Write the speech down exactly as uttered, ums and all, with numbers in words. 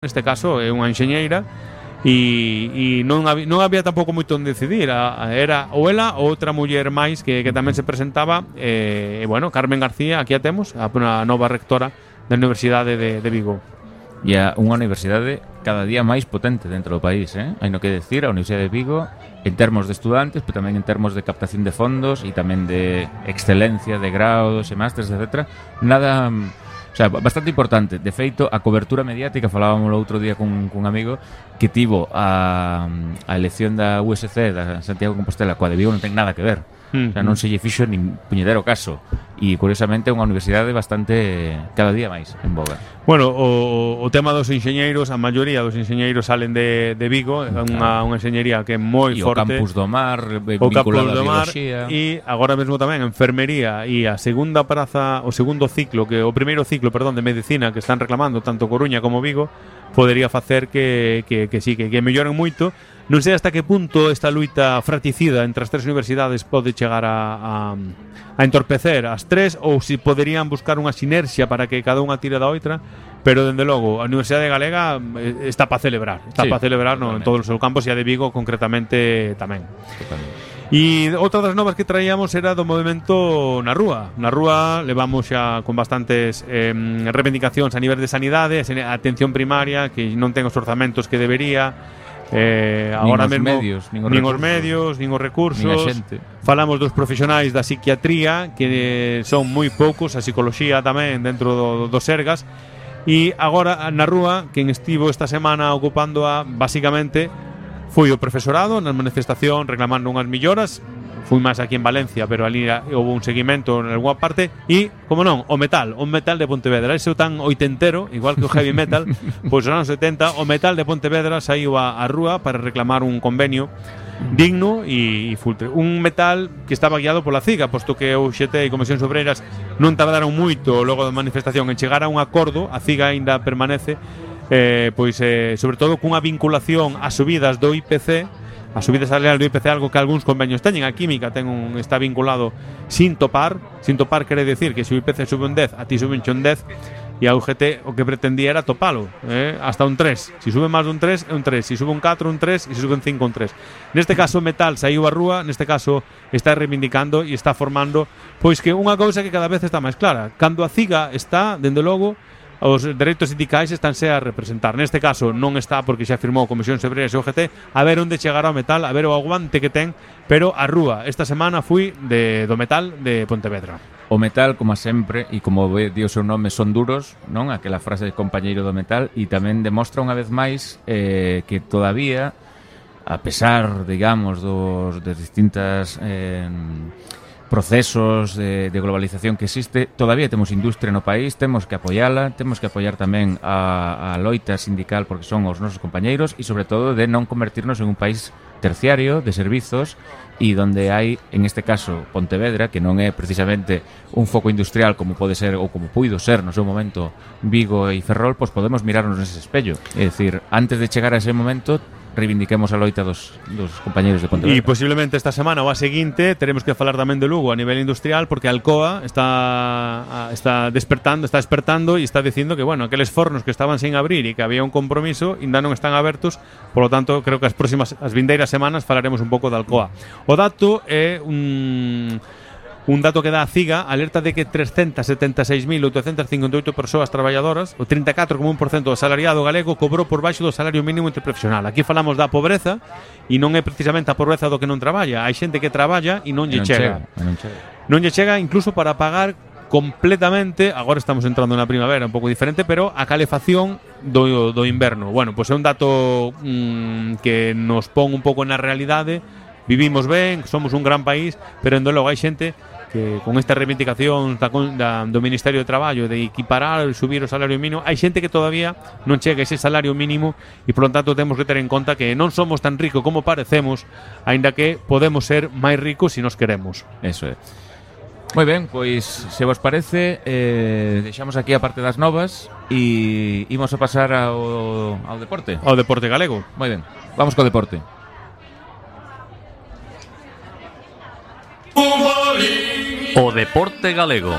Neste caso é unha enxeñeira e, e non, había, non había tampouco moito onde decidir. A, a, era ou ela ou outra muller máis que, que tamén se presentaba. E, e bueno, Carmen García, aquí a temos, a, a nova rectora da Universidade de, de Vigo. E a unha universidade cada día máis potente dentro do país, eh? Hai no que decir, a Universidade de Vigo en termos de estudantes, pero tamén en termos de captación de fondos e tamén de excelencia, de grados e másteres, etcétera. Nada... O sea, bastante importante. De feito, a cobertura mediática, falábamos o outro día cun, cun amigo que tivo a, a elección da U S C, da Santiago de Compostela, coa de Vigo non ten nada que ver. Mm. O sea, non se lle fixo nin puñetero caso. E, curiosamente, é unha universidade bastante, cada día máis, en boga. Bueno, o, o tema dos enxeñeiros, a maioría dos enxeñeiros salen de, de Vigo, é unha, unha enxeñería que é moi e forte. O Campus do Mar, o Campus do Mar, e agora mesmo tamén enfermería e a segunda praza, o segundo ciclo, que o primeiro ciclo, perdón, de medicina que están reclamando tanto Coruña como Vigo, podería facer que, que, que sí, que, que melloren moito. Non sei hasta que punto esta luita fratricida entre as tres universidades pode chegar a, a, a entorpecer as tres, ou se poderían buscar unha sinerxia para que cada unha tire da outra, pero dende logo a Universidade Galega está para celebrar, está sí, para celebrar no, en todos os seus campos, e a de Vigo concretamente tamén. Totalmente. E outra das novas que traíamos era do movimento na rúa. Na rúa levamos xa con bastantes eh, reivindicacións a nivel de sanidade, a atención primaria que non ten os orzamentos que debería. Eh, agora nin os mesmo medios, nin os, nin recursos, os medios, nin os recursos, nin a xente. Falamos dos profesionais da psiquiatría que son moi poucos, a psicología tamén dentro do, do Sergas. E agora na rúa, quen estivo esta semana ocupando a, basicamente foi o profesorado na manifestación reclamando unhas melloras. Fui máis aquí en Valencia, pero ali houve un seguimento en alguna parte. E, como non, o metal, o metal de Pontevedra, ese tan oitentero, igual que o heavy metal, pois nos anos setenta, o metal de Pontevedra saiu a, a rúa para reclamar un convenio digno e, e fultre. Un metal que estaba guiado pola CIGA, posto que o U X T e Comisións Obreiras non tardaron moito logo da manifestación en chegar a un acordo. A CIGA aínda permanece, eh, pois eh, sobre todo cunha vinculación ás subidas do I P C. A subida salarial do I P C, algo que algúns convenios teñen. A química ten un, está vinculado sin topar. Sin topar quere decir que se o I P C sube un dez, a ti sube un dez, e a U G T o que pretendía era topalo, eh? Hasta un tres. Se sube máis dun tres, é un tres. Se sube un catro, un tres. E se sube un cinco, un tres. Neste caso, Metal saiu a rúa. Neste caso, está reivindicando e está formando, pois que unha cousa que cada vez está máis clara. Cando a CIGA está, dende logo, os dereitos sindicais estánse a representar. Neste caso non está, porque xa firmou Comisións Obreiras e O G T, a ver onde chegará o metal, a ver o aguante que ten, pero a rúa esta semana fui de, do metal de Pontevedra. O metal, como sempre, e como di o seu nome, son duros, non? Aquela frase de compañeiro do metal, e tamén demostra unha vez máis eh, que todavía, a pesar, digamos, dos, das distintas... Eh, procesos de, de globalización que existe, todavía temos industria no país, temos que apoiala, temos que apoiar tamén a, a loita sindical porque son os nosos compañeiros, e sobre todo de non convertirnos en un país terciario de servizos, e donde hai, en este caso, Pontevedra, que non é precisamente un foco industrial como pode ser ou como puido ser no seu momento Vigo e Ferrol, pois podemos mirarnos nese espello. É dicir, antes de chegar a ese momento, reivindiquemos a loita dos, dos compañeros de Pontevedra. E posiblemente esta semana ou a seguinte teremos que falar tamén de Lugo a nivel industrial, porque a Alcoa está está despertando, está despertando e está dicindo que, bueno, aqueles fornos que estaban sin abrir e que había un compromiso ainda non están abertos. Por lo tanto, creo que as próximas, as vindeiras semanas falaremos un pouco de Alcoa. O dato é un... Un dato que dá a CIGA, alerta de que trescentas setenta e seis mil oitocentas cincuenta e oito persoas traballadoras, o trinta e catro coma un por cento do salariado galego, cobrou por baixo do salario mínimo interprofesional. Aquí falamos da pobreza, e non é precisamente a pobreza do que non traballa. Hai xente que traballa e non lle chega. Non chega. Non lle chega incluso para pagar completamente, agora estamos entrando na primavera un pouco diferente, pero a calefacción do, do inverno. Bueno, pois é un dato mmm, que nos pon un pouco na realidade. Vivimos ben, somos un gran país, pero en logo hai xente que con esta reivindicación da, da, do Ministerio de Traballo de equiparar e subir o salario mínimo, hai xente que todavía non chega a ese salario mínimo, e por lo tanto temos que ter en conta que non somos tan ricos como parecemos, aínda que podemos ser máis ricos se nos queremos. Eso é. Moi ben, pois se vos parece, eh, deixamos aquí a parte das novas e imos a pasar ao, ao deporte. Ao deporte galego. Moi ben, vamos co deporte. O deporte galego.